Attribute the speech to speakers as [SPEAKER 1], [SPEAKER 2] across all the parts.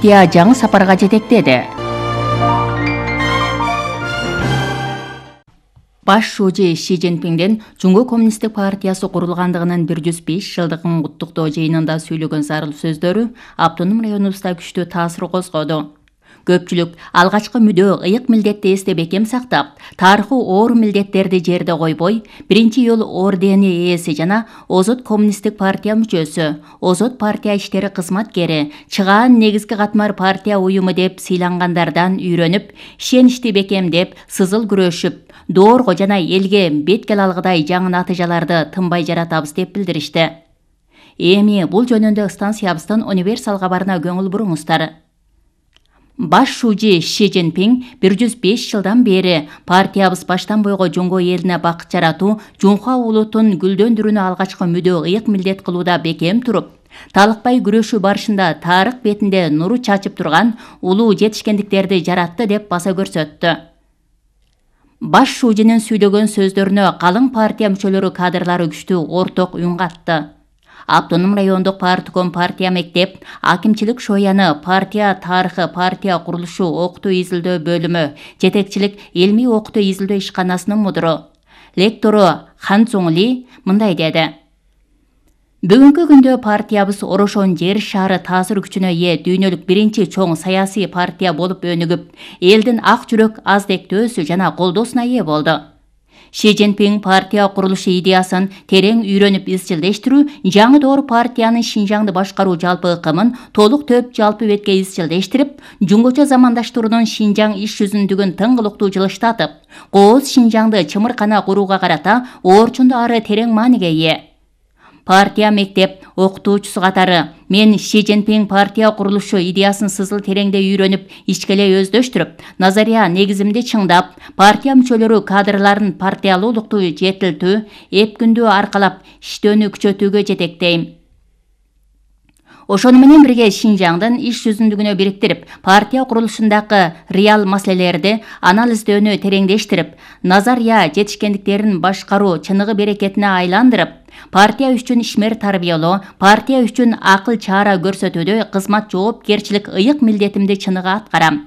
[SPEAKER 1] жаңы сапарга жетектеди. Баш шүүжү Ши Цзиньпиндин Жунго коммунисттик партиясы курулгандыгынын 105 жылдыгын куттуктоо жыйынында сүйлөгөн зарыл сөздөрү автоном районубузда күчтүү таасир козгоду. Көпчүлүк алгачкы мүдөө ыйык милдетти эсте бекем сактап, тарыхый оор милдеттерди жерде койбой, биринчи жол ордени ээси жана Озот коммунисттик партия мүчөсү, Озот партия иштери кызматкери, чыгаан негизги катмар партия уюму деп сыйлангандардан үйрөнүп, ишеничти бекемдеп, сызыл күрөшүп, доорго жана элге бет келе алгыдай жаңы натыйжаларды тынбай жаратабыз деп билдиришти. Эми бул жөнүндө станциябыздын универсал кабарына көңүл буруңуздар. Баш шүүжү Ши Цзиньпин 105 жылдан бери партиябыз баштан бойго Жунго элине бакыт жаратуу, Жунхуа улутун гүлдөндүрүүнү алгачкы мүдөө ыйык милдет кылууда бекем туруп, талыкпай күрөшүү барышында тарых бетинде нуру чачып турган улуу жетишкендиктерди жаратты деп баса көрсөттү. Баш шүүжүнүн сүйлөгөн сөздөрүнө калың партия мүчөлөрү кадрлары күчтүү орток үн катты. Автоном райондук партком партия мектеп, акимчилик шояны партия тарыхы партия курулушу окутуу изилдөө бөлүмү, жетекчилик илмий окутуу изилдөө ишканасынын мудуру, лектору Хан Цзуң Ли мындай деди. Бүгүнкү күндө партиябыз Орошон жер шаары таасир күчүнө ээ дүйнөлүк биринчи чоң саясий партия болуп өнүгүп, элдин ак жүрөк аздектөөсү жана колдоосуна ээ болду. Ши Цзиньпин партия курулушу идеясын терең үйрөнүп изчилдештирүү, жаңы доор партиянын Шинжаңды башкаруу жалпы ыкымын толук төп жалпы бетке изчилдештирип, жунгочо замандаштыруунун Шинжаң иш жүзүндүгүн тыңгылыктуу жылыштатып, кооз Шинжаңды чымыркана курууга карата орчунду ары терең мааниге ээ. Партия мектеп окутуучусу катары мен Ши Цзиньпин партия курулушу идеясын сызыл тереңде үйрөнүп, ичкеле өздөштүрүп, назария негизимди чыңдап, партия мүчөлөрү кадрларын партиялуулукту жетилтүү, эпкүндүү аркалап, иштөөнү күчөтүүгө жетектейм. Ошону менен бирге Шинжаңдын иш жүзүндүгүнө бириктирип, партия курулушундагы реал маселелерди анализдөөнү тереңдештирип, назария жетишкендиктерин башкаруу чыныгы берекетине айландырып, партия үчүн ишмер тарбиялоо, партия үчүн акыл чара көрсөтүүдө кызмат жоопкерчилик ыйык милдетимди чыныгы аткарам.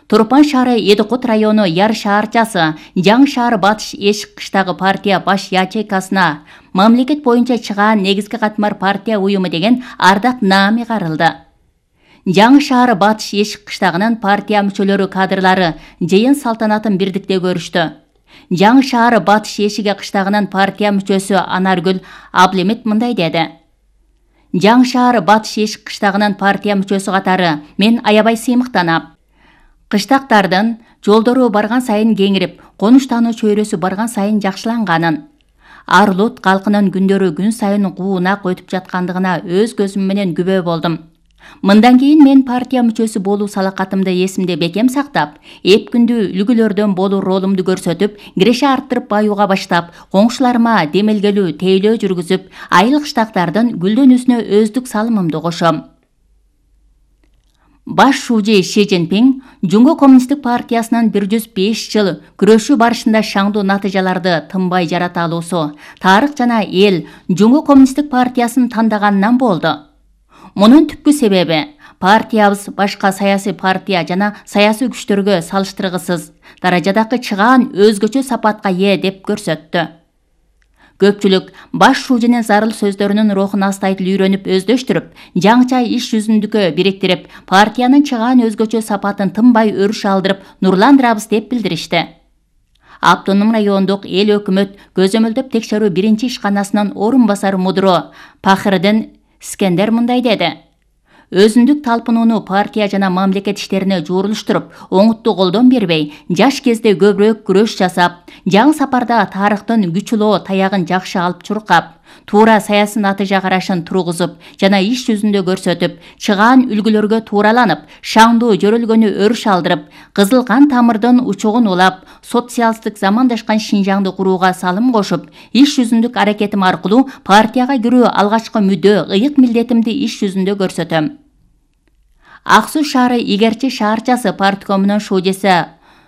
[SPEAKER 1] Турпан шаары Эдикут району Яр шаарчасы, Жаңы шаар Батыш Эшик кыштагы партия баш ячейкасына мамлекет боюнча чыгаан негизги катмар партия уюму деген ардак наами карылды. Жаңы шаар Батыш Эшик кыштагынын партия мүчөлөрү кадрлары жыйын салтанатын бирдикте көрүштү. Жаңы шаар Батыш Эшиги кыштагынын партия мүчөсү Анаргүл Аблемет мындай деди. Жаңы шаар Батыш Эшик кыштагынын партия мүчөсү катары мен аябай сыймыктанам. Кыштактардын жолдору барган сайын кеңирип, конуштануу чөйрөсү барган сайын жакшыланганын, Арлут калкынын күндөрү күн сайын куунак өтүп жаткандыгына өз көзүм менен күбө болдум. Мындан кийин мен партия мүчөсү болуу салакатымды эсимде бекем сактап, эпкүндүү үлгүлөрдөн болуу ролумду көрсөтүп, киреше арттырып баюуга баштап, коңшуларыма демелгелүү тейлөө жүргүзүп, айыл кыштактардын гүлдөнүүсүнө өздүк салымымды кошом. Баш шүүжү Ши Цзиньпин Жунго коммунисттик партиясынын 105 жыл күрөшүү барышында шаңдуу натыйжаларды тынбай жарата алуусу, тарых жана эл Жунго коммунисттик партиясын тандаганынан болду. Мунун түпкү себеби партиябыз башка саясий партия жана саясий күчтөргө салыштыргысыз даражадагы чыгаан өзгөчө сапатка ээ деп көрсөттү. Көпчүлүк баш шүүжүнүн зарыл сөздөрүнүн рухун астайтыл үйрөнүп өздөштүрүп, жаңыча иш жүзүндүккө бириктирип, партиянын чыгаан өзгөчө сапатын тынбай өрүш алдырып, нурландырабыз деп билдиришти. Автоном райондук эл өкмөт көзөмөлдөп текшерүү биринчи ишканасынын орун басары мудуру Пахырдын Скендер мындай деди. Өзүндүк талпынууну партия жана мамлекет иштерине жуурулуштуруп, оңуттуу колдон бербей, жаш кезде көбүрөөк күрөш жасап, жаңы сапарда тарыхтын күчүлөө таягын жакшы алып чуркап, туура саясий натыйжа карашын тургузуп жана иш жүзүндө көрсөтүп, чыгаан үлгүлөргө туураланып, шаңдуу жөрөлгөнү өрүш алдырып, кызыл кан тамырдын учугун улап, социалисттик замандашкан Шинжаңды курууга салым кошуп, иш жүзүндүк аракетим аркылуу партияга кирүү алгачкы мүдөө ыйык милдетимди иш жүзүндө көрсөтөм. Ак Суу шаары Игерчи шаарчасы парткомунун шүүжүсү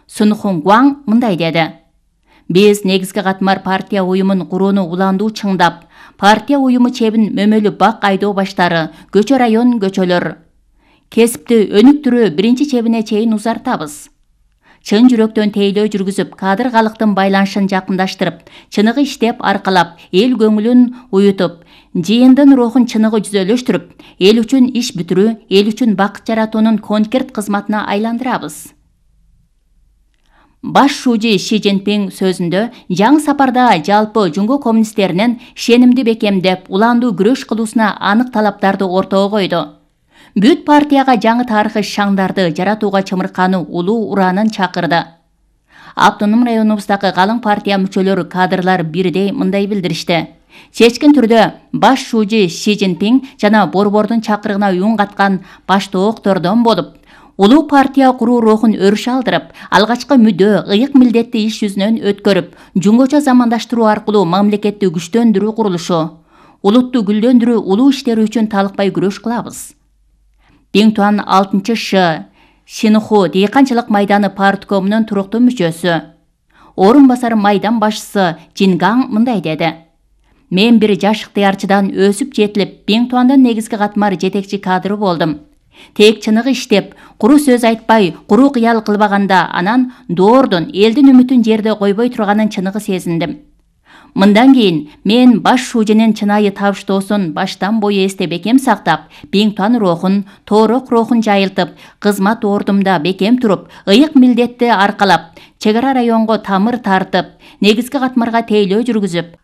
[SPEAKER 1] Сунхун Гуаң мындай деди. Биз негизги катмар партия уюмун курууну уландуу чыңдап, партия уюму чебин мөмөлүү бак айдоо баштары, көчө район көчөлөр, Кесипти өнүктүрүү биринчи чебине чейин узартабыз. Чын жүрөктөн тейлөө жүргүзүп, кадыр калктын байланышын жакындаштырып, чыныгы иштеп аркалап, эл көңүлүн уютуп, жыйындын рухун чыныгы жүзөлөштүрүп, эл үчүн иш бүтүрүү, эл үчүн бакыт жаратуунун конкрет кызматына айландырабыз. Баш шужи Ши Цзиньпин сөзүндө жаңы сапарда жалпы Жунго коммунисттеринин ишенимди бекемдеп, уландуу күрөш кылуусуна анык талаптарды ортого койду. Бүт партияга жаңы тарыхый шаңдарды жаратууга чымырканы улуу ураанын чакырды. Автоном районубуздагы калың партия мүчөлөрү, кадрлар бирдей мындай билдиришти. Чечкин түрдө баш шужи Ши Цзиньпин жана борбордун чакырыгына үн каткан баштооктордон болуп, улуу партия куруу рухун өрүш алдырып, алгачкы мүдө, ыйык милдетти иш жүзүнөн өткөрүп, жунгоча замандаштыруу аркылуу мамлекетти күчтөндүрүү курулушу, улутту гүлдөндүрүү улуу иштери үчүн талыкпай күрөш кылабыз. Биңтуан 6-Ш Шинху дыйканчылык майданы парткомунун туруктуу мүчөсү. Орун басары майдан башчысы Джингаң мындай деди. Мен бир жаш ыктыярчыдан өсүп жетилип, Биңтуандын негизги катмар жетекчи кадры болдум. Тек чыныгы иштеп, куру сөз айтпай, куру кыял кылбаганда, анан доордун элдин үмүтүн жерде койбой турганын чыныгы сезиндим. Мындан кийин мен баш шужинин чынайы табыштоосун баштан бою эсте бекем сактап, Биңтуан рухун, тоорок рухун жайылтып, кызмат ордумда бекем туруп, ыйык милдетти аркалап, чек ара районго тамыр тартып, негизги катмарга тейлөө жүргүзүп,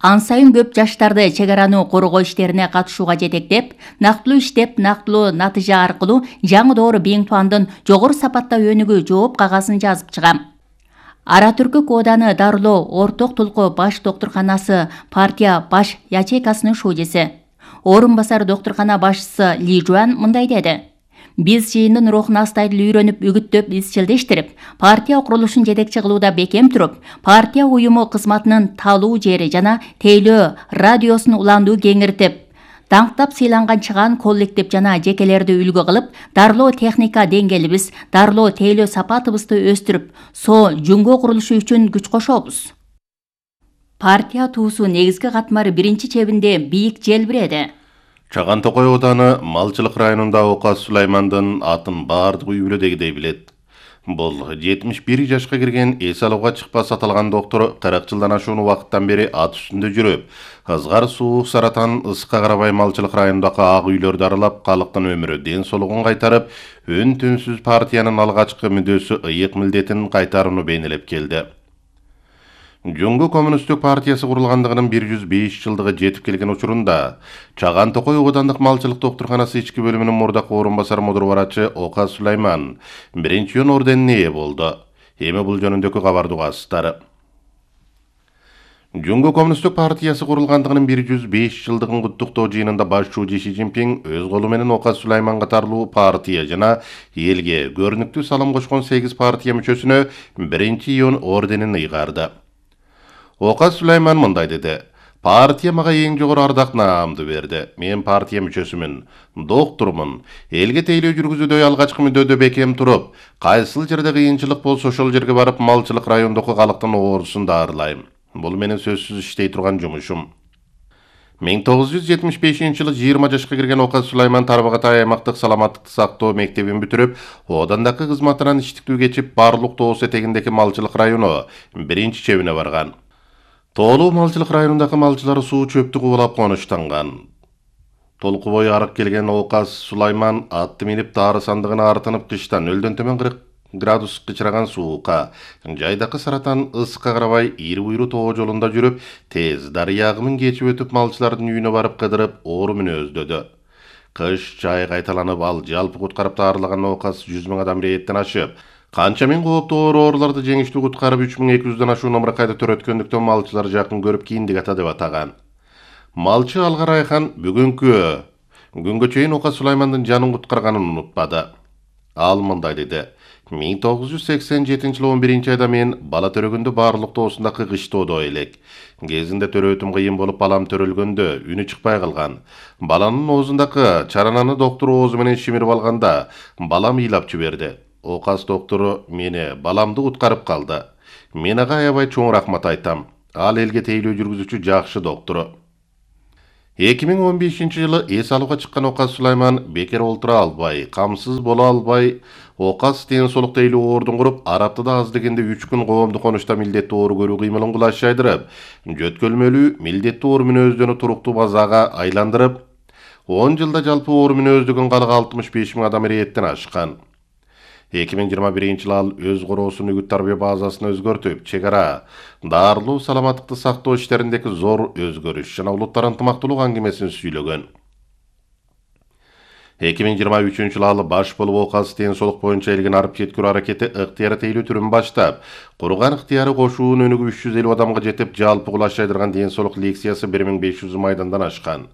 [SPEAKER 1] ан сайын көп жаштарды чек араны коргоо иштерине катышууга жетектеп, нактылуу иштеп, нактылуу натыйжа аркылуу жаңы доору Биңтуандын жогору сапатта өнүгүү жооп кагазын жазып чыгам. Ара түркүк ооданы дарылоо орток тулку баш доктурканасы партия баш ячейкасынын шужиси. Орун басар доктуркана башчысы Ли Жуан мындай деди. Биз жыйындын рухун астайдыл үйрөнүп, үгүттөп, изчилдештирип, партия курулушун жетекчи кылууда бекем туруп, партия уюму кызматынын талуу жери жана тейлөө радиосун уландуу кеңиртип, даңктап сыйланган чыгаан коллектив жана жекелерди үлгү кылып, дарылоо техника деңгээлибиз, дарылоо тейлөө сапатыбызды өстүрүп, Жунго курулушу үчүн күч кошобуз. Партия туусу негизги катмары биринчи чебинде бийик желбиреди.
[SPEAKER 2] Чаган Токой ооданы малчылык районунда Оказ Сулаймандын атын баардык үй бүлөдөгүдөй билет. Бул 71 жашка кирген эс алууга чыкпас аталган доктор 40 жылдан ашуун убакыттан бери ат үстүндө жүрүп, ызгар суук саратан ыска карабай малчылык районундагы ак үйлөрдү аралап, калктын өмүрү ден соолугун кайтарып, үн түнсүз партиянын алгачкы мүдөөсү ыйык милдетин кайтарууну бейнелеп келди. Жунго коммунисттик партиясы курулгандыгынын 105 жылдыгы жетип келген учурунда Чаган Токой оодандык малчылык доктурканасы ички бөлүмүнүн мурдакы орун басар мудур барачы Оказ Сулайман биринчи орденине ээ болду. Эми бул жөнүндөгү кабарды угасыздар. Жунго коммунисттик партиясы курулгандыгынын 105 жылдыгын куттуктоо жыйынында баш шужи Ши Цзиньпин өз колу менен Оказ Сулайман катарлуу партия жана элге көрүнүктүү салым кошкон 8 партия мүчөсүнө биринчи орденин ыйгарды. Оказ Сулайман мындай деди. Партия мага эң жогору ардак наамды берди. Мен партия мүчөсүмүн, доктурмун. Элге тейлөө жүргүзүүдө алгачкы мүддөдө бекем туруп, кайсыл жерде кыйынчылык болсо ошол жерге барып малчылык райондогу калктын оорусун дарылайм. Бул менин сөзсүз иштей турган жумушум. 1975-жылы 20 жашка кирген Оказ Сулайман Тарбагатай аймактык саламаттыкты сактоо мектебин бүтүрүп, оодандагы кызматынан иштиктүү кечип, Барлык тоос этегиндеги малчылык району биринчи чебине барган. Тоолуу малчылык районундагы малчылар суу чөптү кубулап конуштанган. Толку бою арык келген Оказ Сулайман атты минип таары сандыгына артынып кыштан нөлдөн төмөн 40 градус кычыраган суукка, жайдакы саратан ыска карабай ири буйру тоо жолунда жүрүп, тез дарыя агымын кечип өтүп малчылардын үйүнө барып кыдырып, оору мүнөздөдү. Кыш жай кайталанып, ал жалпы куткарып таарлаган Оказ 100 000 адам рейеттен ашып, канча миң кооптуу ооруларды жеңиштүү куткарып 3200-дан ашуун ымыракайды төрөткөндүктөн малчылар жакын көрүп кийиндик ата деп атаган. Малчы Алгар Айхан бүгүнкү күнгө чейин Оказ Сулаймандын жанын куткарганын унутпады. Ал мындай деди. 1987-жылы 11-айда мен бала төрөгөндө Барлык тоосундагы кыштоодо элек. Кезинде төрөөтүм кыйын болуп, балам төрөлгөндө үнү чыкпай калган. Баланын оозундагы чарананы доктор оозу менен шимирип алганда, балам ыйлап жиберди. Оказ доктору мени баламды куткарып калды. Мен ага аябай чоң рахмат айтам. Ал элге тейлөө жүргүзүүчү жакшы доктору. 2015-жылы эс алууга чыккан Оказ Сулайман бекер олтура албай, камсыз боло албай, Оказ ден солук тейлүү ордун куруп, Араптыда аз дегенде 3 күн коомдук конушта милдеттүү ору көрүү кыймылын кулаш жайдырып, жөткөлмөлүү милдеттүү ору мүнөздөнү туруктуу базага айландырып, 10 жылда жалпы ору мүнөздүгүн калыгы 65 000 адам ирэеттен ашкан. 2021-жылы ал өз короосун үгүт тарбия базасын өзгөртүп, чек ара, дарылуу саламаттыкты сактоо иштериндеги зор өзгөрүш жана улуттар ынтымактуулук аңгемесин сүйлөгөн. 2023-жылы ал баш болуп Оказ ден солук боюнча элген арып жеткирүү аракети ыктыяры тейлүү түрүн баштап, курган ыктыяры кошуунун өнүгүп 350 адамга жетип, жалпы кулаш жайдырган ден солук лекциясы 1500 майдандан ашкан.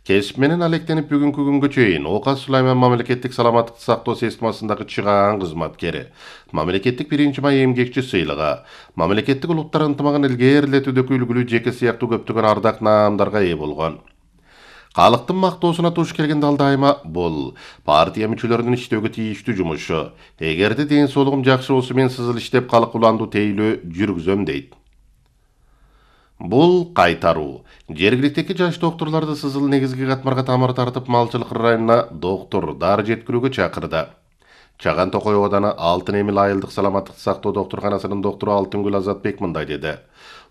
[SPEAKER 2] Кесип менен алектенип бүгүнкү күнгө чейин Оказ Сулайман мамлекеттик саламаттыкты сактоо системасындагы чыгаан кызматкери, мамлекеттик 1-май эмгекчи сыйлыгы, мамлекеттик улуттар ынтымагын илгээрилетүүдөгү үлгүлүү жеке сыяктуу көптөгөн ардак наамдарга ээ болгон. Калктын мактоосуна туш келгенде ал дайыма бул партия мүчөлөрүнүн иштөөгө тийиштүү жумушу. Эгерде ден соолугум жакшы болсо мен сызыл иштеп калк уландуу тейлөө жүргүзөм дейт. Бул кайтаруу. Жергиликтеги жаш докторлорду сызыл негизги катмарга тамыр тартып малчылык районуна доктор дары жеткирүүгө чакырды. Чаган Токой ооданы Алтын Эмил айылдык саламаттыкты сактоо доктурканасынын доктору Алтынгүл Азатбек мындай деди.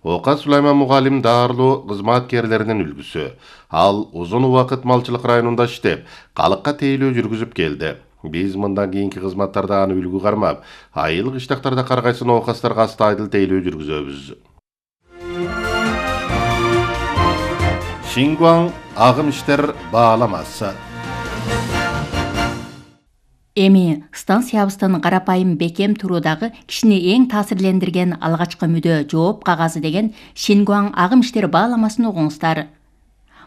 [SPEAKER 2] Оказ Сулайман мугалим дарылуу кызматкерлеринин үлгүсү. Ал узун убакыт малчылык районунда иштеп, калыкка тейлөө жүргүзүп келди. Биз мындан кийинки кызматтарда аны үлгү кармап, айыл кыштактарда каргайсын оокастарга астайдыл тейлөө жүргүзөбүз. Шингуан агым иштер бааламасы.
[SPEAKER 1] Эми станциябыздын карапайым бекем туруудагы кишини эң таасирлендирген алгачкы мүдө жооп кагазы деген Шингуан агым иштер бааламасын угуңуздар.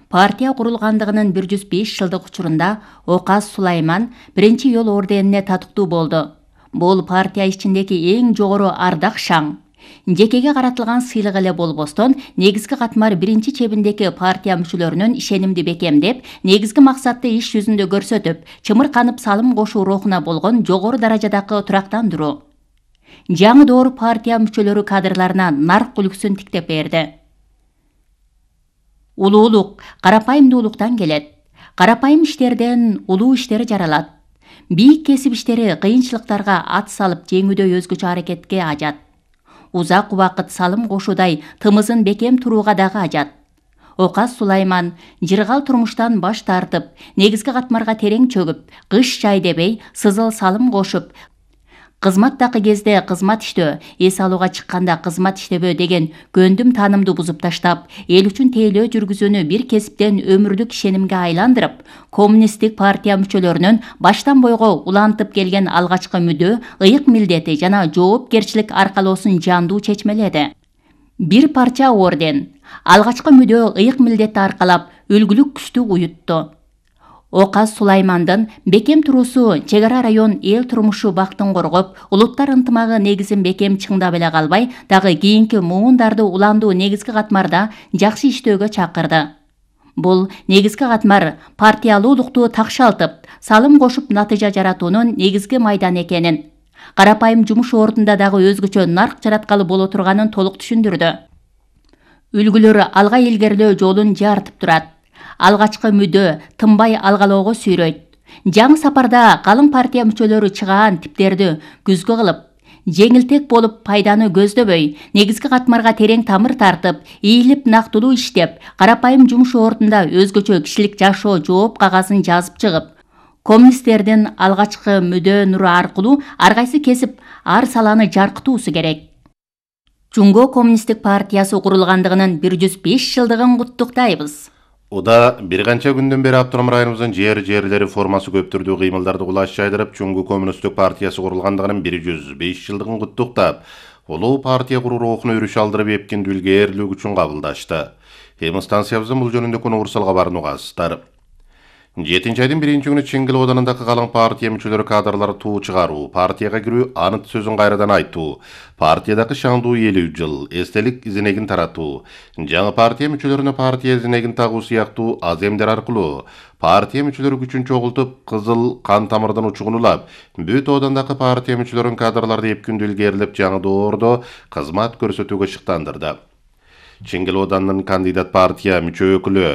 [SPEAKER 1] Партия курулгандыгынын 105 жылдык учурунда Оказ Сулайман 1-жол орденине татыктуу болду. Бул партия ичиндеги эң жогору ардак шаң. Жекеге каратылган сыйлык эле болбостон, негизги катмар 1-чебиндеги партия мүчөлөрүнүн ишенимди бекемдеп, негизги максатты иш жүзүндө көрсөтүп, чымырканып салым кошуу рухуна болгон жогору даражадагы турактандыруу. Жаңы доор партия мүчөлөрү кадрларына нарк үлгүсүн тиктеп берди. Улуулук карапайымдуулуктан келет. Карапайым иштерден улуу иштер жаралат. Бийик кесип иштери кыйынчылыктарга ат салып жеңүүдө өзгөчө аракетке ажат. Узак убакыт салым кошуудай тымызын бекем турууга дагы ажат. Оказ Сулайман жыргал турмуштан баш тартып, негизги катмарга терең чөгүп, кыш жай дебей сызыл салым кошуп, кызматтагы кезде кызмат иштөө, эс алууга чыкканда кызмат иштебөө деген көндүм таанымды бузуп таштап, эл үчүн тейлөө жүргүзүүнү бир кесиптен өмүрлүк ишенимге айландырып, коммунисттик партия мүчөлөрүнүн баштан бойго улантып келген алгачкы мүдө, ыйык милдети жана жоопкерчилик аркалоосун жандуу чечмеледи. Бир парча орден, алгачкы мүдө, ыйык милдетти аркалап, үлгүлүк күчтү уютту. Оказ Сулаймандын бекем туруусу чек ара район эл турмушу бактын коргоп, улуттар ынтымагы негизин бекем чыңдап эле калбай, дагы кийинки муундарды уландуу негизги катмарда жакшы иштөөгө чакырды. Бул негизги катмар партиялуулукту такшалтып, салым кошуп натыйжа жаратуунун негизги майданы экенин, карапайым жумуш ордунда дагы өзгөчө нарк жараткалы боло турганын толук түшүндүрдү. Үлгүлөр алга илгерилөө жолун жарытып турат. Алгачкы мүдө тынбай алгалоого сүйрөйт. Жаңы сапарда калың партия мүчөлөрү чыгаан типтерди күзгү кылып, жеңилтек болуп пайданы көздөбөй, негизги катмарга терең тамыр тартып, ийилип нактылуу иштеп, карапайым жумуш ордунда өзгөчө кишилик жашоо жооп кагазын жазып чыгып, коммунисттердин алгачкы мүдө нуру аркылуу ар кайсы кесип ар саланы жаркытуусу керек. Жунго коммунисттик партиясы курулгандыгынын 105 жылдыгын куттуктайбыз.
[SPEAKER 2] Уда бир канча күндөн бери Автоном районубуздун жерлери формасы көп түрдүү кыймылдарды кулаш жайдырып, Жунго коммунисттик партиясы курулгандыгынын 105 жылдыгын куттуктап, улуу партия куруу рухуна өрүш алдырып эпкиндүү илгээрлүү үчүн кабылдашты. Эми станциябыздын бул жөнүндө Урсал кабарын угасыздар. 7-айдын 1-күнү Чеңгил оданындагы калың партия мүчөлөрү кадрлары туу чыгаруу, партияга кирүү, анын сөзүн кайрадан айтуу, партиядагы шаңдуу 50 жыл, эстелик изинегин таратуу, жаңы партия мүчөлөрүнө партия изинегин тагуу сыяктуу аземдер аркылуу партия мүчөлөрү күчүн чогултуп, кызыл кан тамырдан учугун улап, бүт оодандагы партия мүчөлөрүн кадрларды эпкиндүү илгээрилеп, жаңы доордо кызмат көрсөтүүгө шыктандырды. Чеңгел Оодандын кандидат партия мүчө өкүлү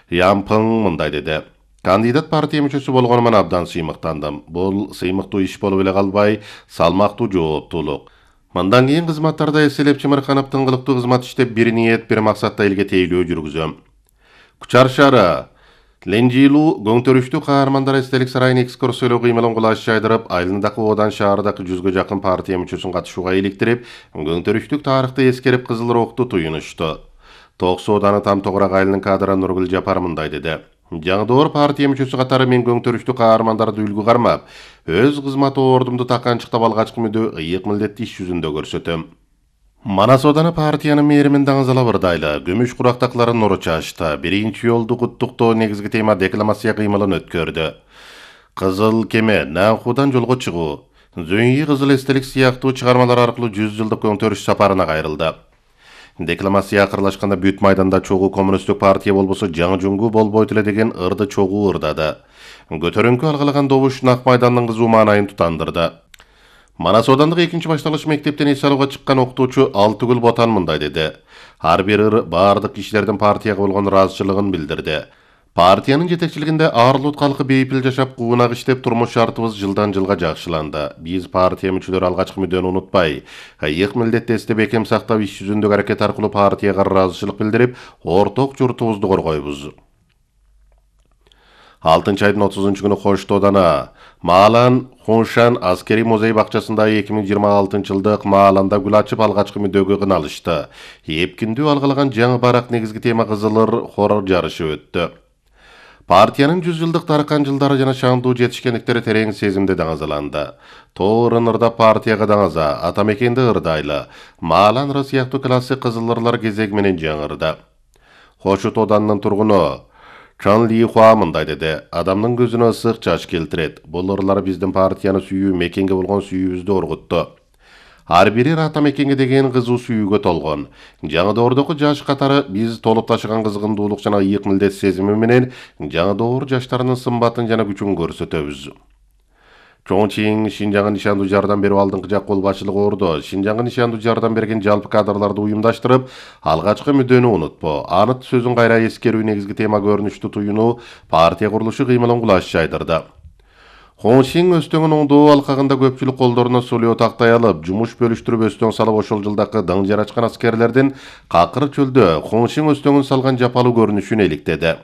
[SPEAKER 2] Ян Пың мындай деди. Кандидат партия мүчөсү болгонуман абдан сыймыктандым. Бул сыймыктуу иш болуп эле калбай, салмактуу жооптуулук. Мындан кийин кызматтарда эселеп чымырканып тыңгылыктуу кызмат иштеп, бир ниет, бир максатта элге тейлөө жүргүзөм. Кучар шаары Ленжилу көңтөрүштүү каармандар эстелик сарайын экскурсиялоо кыймылын кулаш жайдырып, айылындагы Оодан шаарындагы 100гө жакын партия мүчөсүн катышууга иликтирип, көңтөрүштүк тарыхты эскерип кызыл рухту туюнушту. Токсу Ооданы Там Тогурак айылынын кадры Нургүл Жапар мындай деди. Жаңдоор партия мүчөсү катары мен көңтөрүштүү каармандарды үлгү кармап, өз кызмат ордумду таканчыктап алгачкы мүдө ыйык милдетти иш жүзүндө көрсөтөм. Манас Ооданы партиянын мээримин даңызала бырдайлы, күмүш курактакларын нуру чачты. Биринчи жолду куттуктоо негизги тема декламация кыймылын өткөрдү. Кызыл кеме, Нанхудан жолго чыгуу, Зөңгий кызыл эстелик сыяктуу чыгармалар аркылуу 100 жылдык көңтөрүш сапарына кайрылды. Декламация акырлашканда бүт майданда чогуу коммунисттик партия болбосо жаңы жуңгу болбойт эле деген ырды чогуу ырдады. Көтөрүңкү алгалаган добуш Нак майдандын кызуу маанайын тутандырды. Манас Оодандык 2 башталгыч мектептен эс алууга чыккан окутуучу Алтыгүл Ботан мындай деди. Ар бир ыр баардык кишилердин партияга болгон ыраазычылыгын билдирди. Партиянын жетекчилигинде Арлут калкы бейпил жашап, куунак иштеп, турмуш шартыбыз жылдан жылга жакшыланды. Биз партия мүчөлөрү алгачкы мүдөнү унутпай, ыйык милдетти эстеп бекем сактап, иш жүзүндөгү аракет аркылуу партияга ыраазычылык билдирип, орток журтубузду коргойбуз. 6-айдын 30-күнү Кошто Ооданы Маалан Хуншан аскери музей бакчасында 2026 жылдык Мааланда гүл ачып алгачкы мүдөгө кыналышты. Эпкиндүү алгалаган жаңы барак негизги тема кызылыр хорор жарышы өттү. Партиянын 100 жылдык таркан жылдары жана шаңдуу жетишкендиктери терең сезимде даңазаланды. Тоо ырын ырдап партияга даңаза, ата мекенди ырдайлы, Маалан ыры сыяктуу классик кызылырлар кезеги менен жаңырды. Хошут Оодандын тургуну Чан Ли Хуа мындай деди. Адамдын көзүнө ысык жаш келтирет. Бул ырлар биздин партияны сүйүү, мекенге болгон сүйүүбүздү оргутту. Ар бири ата мекенге деген кызуу сүйүүгө толгон. Жаңы доордогу жаш катары биз толуп ташыган кызгындуулук жана ыйык милдет сезими менен жаңы доор жаштарынын сымбатын жана күчүн көрсөтөбүз. Чоңчиң Шинжаңга нишандуу жардам берүү алдыңкы жак кол башчылыгы ордо. Шинжаңга нишандуу жардам берген жалпы кадрларды уюмдаштырып, алгачкы мүдөнү унутпо. Анын сөзүн кайра эскерүү негизги тема көрүнүштү туюнуу партия курулушу кыймылын кулаш жайдырды. Хоншин Өстөңүн оңдоо алкагында көпчүлүк колдоруна сулуу тактай алып, жумуш бөлүштүрүп Өстөң салып ошол жылдакы дың жарачкан аскерлердин какыр чөлдө Хоншин Өстөңүн салган жапалуу көрүнүшүн эликтеди.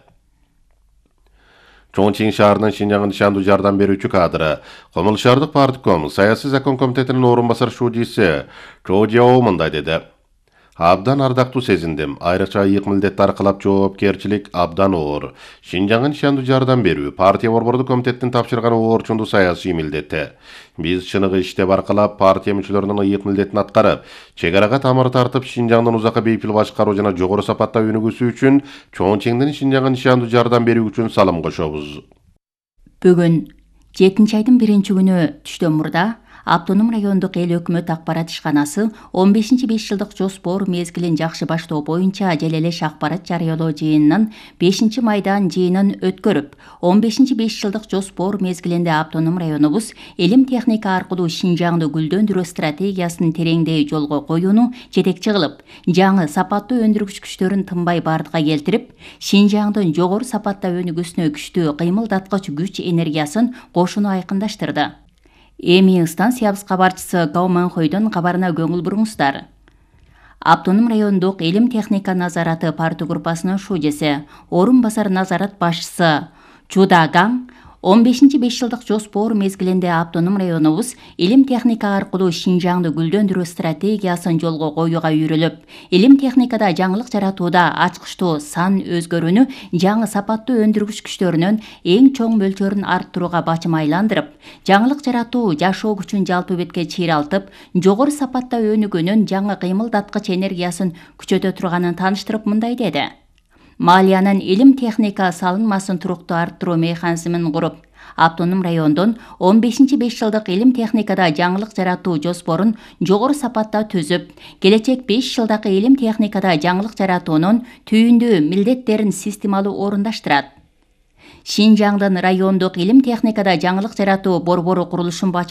[SPEAKER 2] Чоңчиң шаарынын Шинжаңга нишандуу жардам берүүчү кадры, Комул шаардык партком саясий закон комитетинин орун басар шуудиси Чо Жао мындай деди. Абдан ардактуу сезиндим. Айрыкча ыйык милдетти аркалап жоопкерчилик абдан оор. Шинжаңга нишандуу жардам берүү партия борбордук комитеттин тапшырган оорчундуу саясий милдети. Биз чыныгы иштеп аркалап партия мүчөлөрүнүн ыйык милдетин аткарып, чек арага тамыр тартып, Шинжаңдын узакка бейпил башкаруу жана жогору сапатта өнүгүүсү үчүн Чоңчиңдин Шинжаңга нишандуу жардам берүү үчүн салым кошобуз.
[SPEAKER 1] Бүгүн 7-айдын 1-күнү түштөн мурда Автоном райондук эл өкмөт акпарат ишканасы 15 5 жылдык жоспор мезгилин жакшы баштоо боюнча желелеш акпарат жарыялоо жыйынынын 5 майдан жыйынын өткөрүп, 15 5 жылдык жоспор мезгилинде Автоном районубуз элим техника аркылуу Шинжаңды гүлдөндүрүү стратегиясын тереңдей жолго коюуну жетекчи кылып, жаңы сапаттуу өндүргүч күчтөрүн тынбай бардыга келтирип, Шинжаңдын жогору сапатта өнүгүүсүнө күчтүү кыймылдаткыч күч энергиясын кошууну айкындаштырды. Эми станциябыз кабарчысы Гау Манхойдун кабарына көңүл буруңуздар. Автоном райондук элим техника назараты партия группасынын шуудеси, орун басар назарат башчысы Чуда Гаң 15 5 жылдык жоспор мезгилинде Автоном районубуз элим техника аркылуу Шинжаңды гүлдөндүрүү стратегиясын жолго коюуга үйрөлүп, элим техникада жаңылык жаратууда ачкычтуу сан өзгөрүүнү жаңы сапаттуу өндүргүч күчтөрүнүн эң чоң мөлчөрүн арттырууга бачым айландырып, жаңылык жаратуу жашоо күчүн жалпы бетке чыйралтып, жогору сапатта өнүгүүнүн жаңы кыймылдаткыч энергиясын күчөтө турганын тааныштырып мындай деди. Малиянын элим техника салынмасын туруктуу арттыруу механизмин куруп, Автоном райондон 15 5 жылдык элим техникада жаңылык жаратуу жоспорун жогору сапатта түзүп, келечек 5 жылдагы элим техникада жаңылык жаратуунун түйүндүү милдеттерин системалуу орундаштырат. Шинжаңдын райондук элим техникада жаңылык жаратуу борбору курулушун